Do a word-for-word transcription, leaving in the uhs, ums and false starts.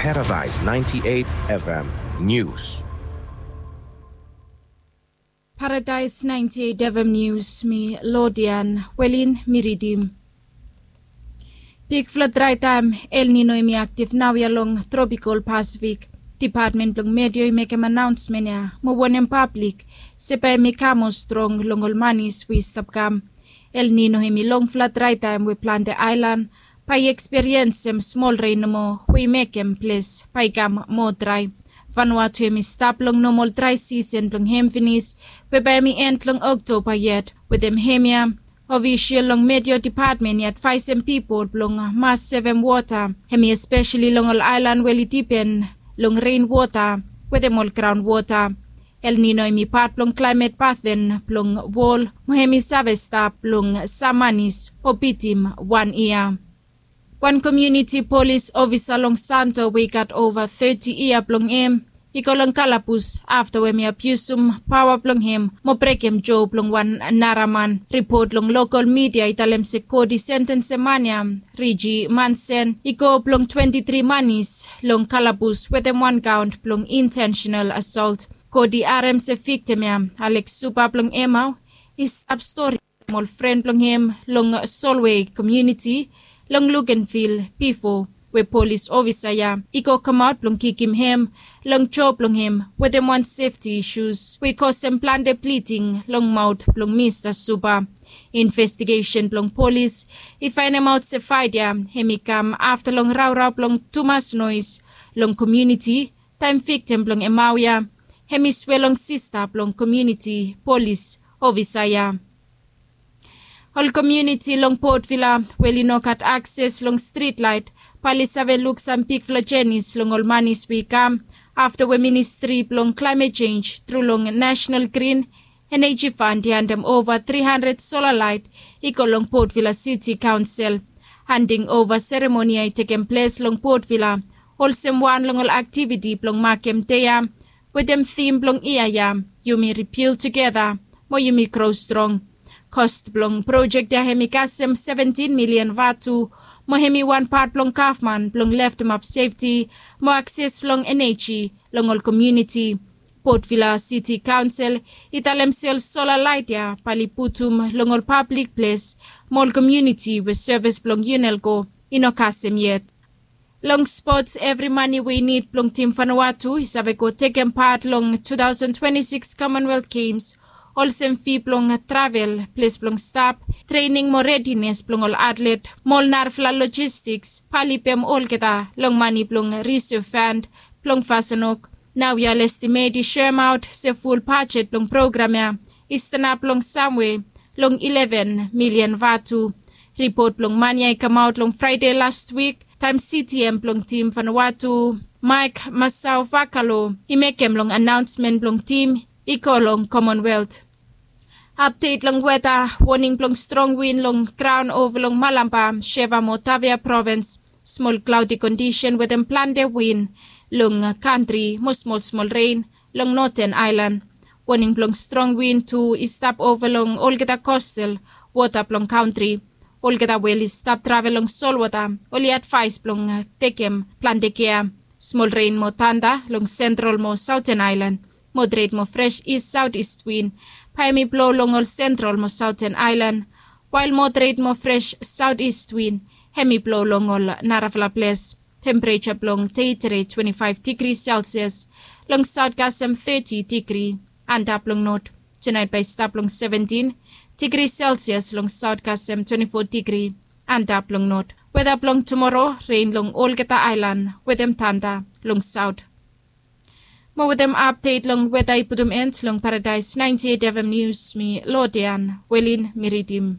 Paradise ninety-eight F M News. Paradise ninety-eight F M News, mi Lodian Welin mi ridim. Bigfala draetaem El Nino hemi aktif naoia long tropikol Pasifik. Depatmen blong Meteo i mekem anaonsmen ya mo wonem pablik se bae hemi kam moa strong long ol manis we i stap kam. El Nino hemi longfala draetaem we plante aelan bae i eksperiensem smol ren nomo we i mekem ples bae i kam moa drae. Vanuatu hemi stap long nomol drae sisen blong hem finis, we bae hemi en long Oktoba yet. Wetem hemia, ofisial long Meteo Depatmen i advaesem pipol blong mas sevem wota, hemi espeseli long ol aelan we oli dipen long ren wota wetem ol graon wota. El Nino hemi pat blong klaemet paten blong wol, mo hemi save stap long sam manis o bitim wan yia. Wan komuniti polis ofisa long Santo we i gat ova teti yia blong hem i go long kalabus afta we hemi abiusum paoa blong hem mo brekem jo blong wan nara man. Ripot long lokol midia i talem se kot i sentensem man ya, Riji Mansen, i go blong twenti tri manis long kalabus wetem wan kaon blong intensenal asolt. Kot i harem se viktim ya, Alex Supa blong Emau, i stap stori wetem ol fren blong hem long Solway komuniti long Lukenvil bifo, we polis ofisa ya i go kamaot blong kikim hem long jo blong hem wetem wan sefti isus we i kosem plante bliding long maot blong Mista Supa. Investigesen blong polis i faenemaot se faet ya hemi kam afta long raorao blong tumas noes long komuniti, taem viktim blong Emau ya hemi swea long sista blong komuniti polis ofisa ya. Ol komuniti long Port Vila we oli no gat akses long strit laet bae oli save luk sam bigfala jenis long ol manis we i kam afta we Ministri blong Klaemet Jenj tru long Nasenal Grin Eneji Fan i handem ova tri handred sola laet i go long Port Vila Siti Kaonsel. Handing ova seremoni ya i tekem ples long Port Vila olsem wan long ol aktiviti blong makem dei ya wetem tim blong yia ya, Yumi Rebuild Together mo Yumi Grow Strong. Kos blong projek ya hemi kasem seventin milian vatu, mo hemi wan pat blong gavman blong leftemap sefti mo akses blong eneji long ol komuniti. Port Vila Siti Kaonsel i talem se ol sola laet ya bae oli putum long ol pablik ples mo ol komuniti we sevis blong Unelco i no kasem yet. Long spots, evri mani we i nid blong tim Vanuatu i save go tekem pat long two thousand twenty-six Commonwealth Games, olsem fi blong travel, ples blong stap, trening mo redines blong ol atlet mo ol narafala lojistiks bae oli pem olgeta long mani blong risev fan blong Vasanok. Naoia ol estimet i soemaot se ful bajet blong program ya i stanap long samwe long ileven milian vatu. Ripot blong mani ya i kamaot long Fraede las wik taem CTM blong tim Vanuatu, Maek Masao Vakalo, i mekem long anaonsmen blong tim i go long Commonwealth. Apdet long weta, woning blong strong win long graon ova long Malampa, Sheva mo Tavia provins. Smol klaodi kondisen wetem plante win long kantri mo smolsmol ren long Noten Aelan. Woning blong strong win tu i stap ova long olgeta kostal wota blong kantri. Olgeta we oli stap travel long solwota oli advaes blong tekem plante kea. Smol ren mo tanda long sentral mo saoten aelan. Moderet mo fres is saotis win bae hemi blo long ol sentral mo saoten aelan, wael moderet mo fres saotis win hemi blo long ol narafala ples. Tempereja blong dei tede twenti faef digri Celsius, long saot kasem teti digri. Antap long not, tunaet bae i stap long seventin digri Celsius, long saot kasem twenti fo digri. Antap long not. Weta blong tumoro, ren long olgeta aelan wetem tanda long saot. Mo wetem apdet long weta i putum en long Paradaes naenti eit FM Nius, mi Lodian Welin mi ridim.